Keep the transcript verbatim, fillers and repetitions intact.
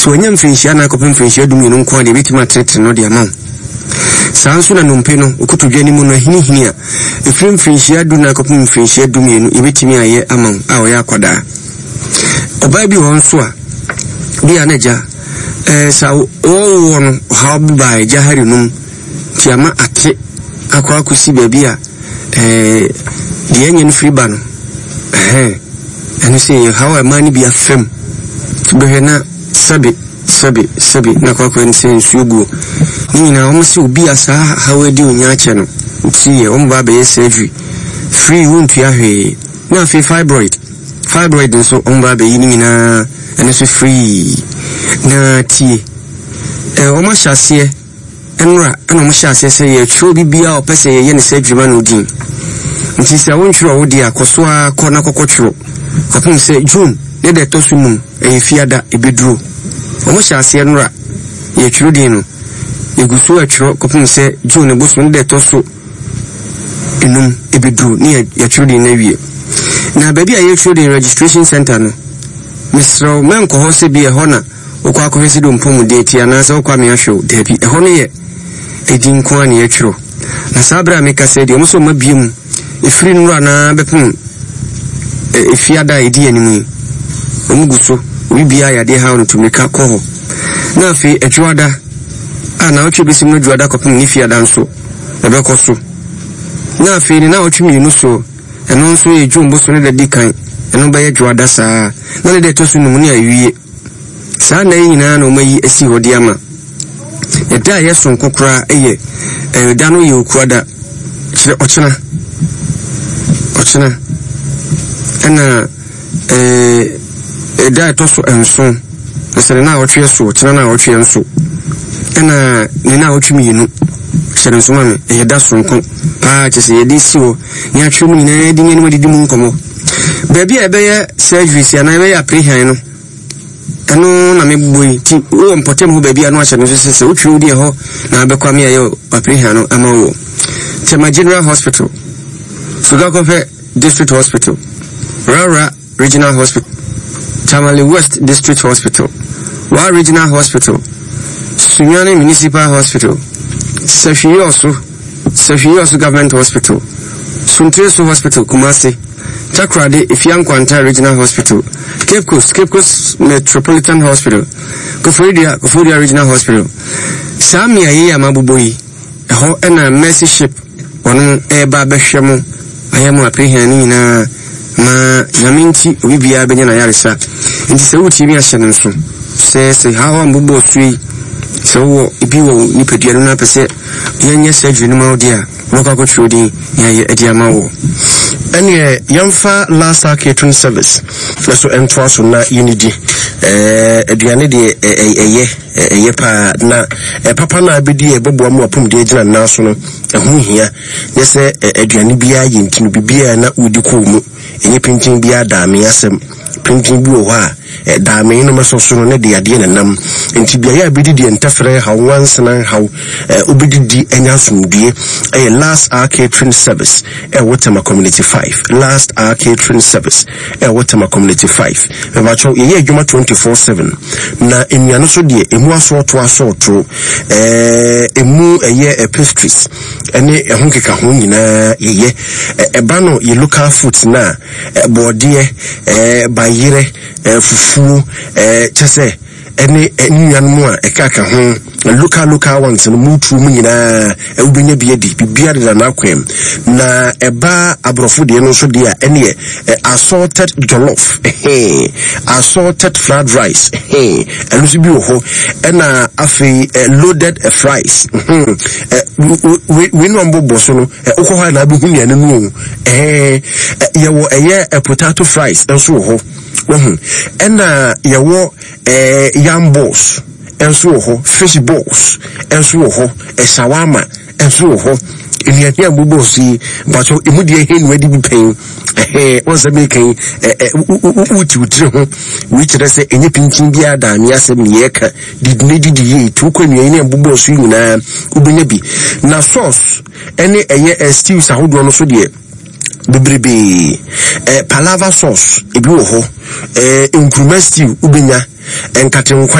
Sɛ wanya mfirinhyia nan kɔpem mfirinhyia dumienu nko a deɛ, ɛbɛtumi atenetene no de ama wo. Saa nso na nnompe no, okotodwe no mu no ahinihini a, ɛfiri mfirinhyia du nan kɔpem mfirinhyia dumienu, yɛbɛtumi ayɛ ama wo a ɔyɛ akwadaa. Ɔbaa bi wɔ hɔ nso a, bi a na agya ɛɛ sa wɔwɔ no, ɔhaw bi baa agya hari nom nti ama ate akɔ akɔsi baabi a ɛɛ deɛ ɛnyɛ no firi ba no. Ɛhɛn, ɛno sɛ yɛ haw a ɛmaa no bi afam bɛhwɛ na sɛbe sɛbe sɛbe na akɔ akɔyɛ no sɛ nsuo guo ne nyinaa. Wɔn sɛ obi a saa haw adi onya akyɛ no nti yɛ wɔn ba abɛyɛ surgery free, wontua hwee. Na afei fibroid fibroid nso, wɔn ba abɛyi ne nyinaa, ɛno nso free. Na tie, ɛɛ wɔn ahyɛ aseɛ nnora, ɛna wɔn hyɛ aseɛ sɛ yɛtwerɛ obi biara a ɔpɛ sɛ yɛyɛ ne surgery ma no din. Nti sɛ wontwerɛ wo deɛ a, kɔ so ara kɔ na kɔkɔ twerɛ kɔpem sɛ June ne da ɛtɔ so num, ɛyɛ Fiada ɛbɛduro. Wɔn hyɛ aseɛ nnora yɛtwerɛ din no, yɛgu so atwerɛ kɔpem sɛ June ne bosom ne da ɛtɔ so enum ɛbɛduro ne yɛtwerɛ din no awie. Na baabi a yɛtwerɛ din, registration center no, mesrɛ wo, mɛnkɔ hɔ sɛ bi ɛhɔ na wokɔ akɔhwɛ sɛ de mpɔmuden ti anaasɛ wokɔ ame ahwɛ wo. Daabi, ɛhɔ no yɛ ɛdi nko a ne yɛtwerɛ. Na saa berɛ a meka sɛ deɛ ɔmo sɛ ɔma bie mu ɛfiri nnora naa bɛpem Efiada a ɛdi anim yi, ɔmo gu so. Obi biara yadeɛ haw no, tumirika kɔ hɔ. Na afei Adwoada a naawɔtwe bɛsi mu no, Adwoada kɔpem ne Fiada nso ɛbɛkɔ so. Na afei ne naawɔtwe mmienu so, ɛno nso yɛ June boso ne da di kan, ɛno bɛyɛ Dwoada saa na ne da ɛtɔ so num ne awie. Saa nna yi nyinaa na ɔmo ayi asi hɔ de ama. Ɛda a ɛyɛ sonko koraa ɛyɛ ɛda no yɛ Okuada, kyerɛ ɔkyena. Ɔkyena ɛna ɛɛ ɛda a ɛtɔ so nson, ɛsɛ ne naawɔtwe so, ɔkyena naawɔtwe nso ɛna ne naawɔtwe mmienu. Hyɛ ne nso ma me, ɛyɛ da sonko paa, kyerɛ sɛ yɛde si hɔ ne atwerɛ mu nyinaa de nneɛma didi mu nkɔmmɔ. Baabi a ɛbɛyɛ surgery si anaa ɛbɛyɛ aprehan no, ɛno na mebobɔ yi. Nti wowɔ mpɔtam hɔ baabi a no ahyɛ no nso sɛ sɛ wotwerɛ wo deɛ hɔ na abɛkɔ ame ayɛ aprehan no ama wɔ Tema General Hospital, Sogakɔpɛ District Hospital, Rara Regional Hospital, Tamale West District Hospital, Wa Regional Hospital, Sunyani Municipal Hospital, Sefwi-Wiawso Sefwi-Wiawso Government Hospital, Suntreso Hospital, Kumasi, Takoradi Effia Nkwanta Regional Hospital, Cape Coast, Cape Coast Metropolitan Hospital, Koforidua, Koforidua Regional Hospital. Saa mmeaeɛ yi a mabobɔ yi, ɛhɔ ɛna Mercy Ship wɔn ɛreba abɛhwɛ mo, ayɛ mo aprehan no nyinaa ma Nyame nti obi biara bɛnya n'ayaresa. Nti sɛ wotie mi, ahyɛ no nso sɛ sɛ haw a mbobɔ so yi, sɛ wowɔ ebi wɔ wo nipadua no na apɛ sɛ yɛnyɛ surgery no ma wo deɛ a, wobɛkɔ akɔtwerɛ din na yɛayɛ adi ama wo. Ɛneɛ yɛmfa Last Hour Catering Service na so ɛntoa so na yɛnidi. ɛɛ aduane deɛ, ɛyɛ ɛyɛ paa na papa no a bɛdi ɛbɛboa mu apɔmuden agyina nan so no, ɛho hia. Nyɛ sɛ aduane biara yɛ nti no biribiara na wodi kɔɔ mu. Ɛnyɛ pintin biara daame asɛm. Pintin bi wɔ hɔ a daame no mɛsɔ so no ne de adeɛ nenam. Nti beaeɛ a bɛdi deɛ ntɛfrɛ haw, nwansena haw, wobɛdidi anya asomdue, ɛyɛ Last Hour Catering Service ɛwɔ Tema Community five. Last Hour Catering Service ɛwɔ Tema Community five. Mebakyɛw, yɛyɛ adwuma twenty-four seven. Na nnuane so deɛ, emu asɔɔto asɔɔto, ɛɛ emu ɛyɛ pastries ɛne ɛho keka ho nyinaa yɛyɛ. Ɛba no yɛ local foods na bɔɔdeɛ, ɛɛ bayerɛ, ɛɛ fufuo, ɛɛ kyɛ sɛ ɛne nnuanom a ɛkaka ho, local local ones no mutuo mu nyinaa, wobɛnya bi adi. Biribiara deda n'akwam. Na ɛba aborɔfo deɛ no nso deɛ a, ɛneɛ assorted jollof, assorted fried rice, ɛno nso bi wɔ hɔ. Ɛna afei loaded fries. Wei no ambɔbɔ so no, wokɔ hɔ a na abɛhu nnuane no o. Yɛwɔ ɛyɛ potato fries nso wɔ hɔ wahu. Ɛna yɛwɔ ɛɛ yam balls nso wɔ hɔ, fish balls nso wɔ hɔ, shawarma nso wɔ hɔ. Nnuane a mbobɔ so yi, mpatwɛ, emu deɛ he nua di bi pɛn ɛhɛn wɔn sɛ meka yi, ɛɛ wuti wotiri ho. Wei kyerɛ sɛ ɛnyɛ pinkyin biara daame asɛm ne yɛka. Didi ne didi yie tu kɔ nnuane ne mbobɔ so yi nyinaa, wobɛnya bi. Na sauce ɛne ɛyɛ stews ahodoɔ no so deɛ bebrebee, ɛ palava sauce ebi wɔ hɔ, ɛ nkuruma stew wobɛnya, nkatenkwan.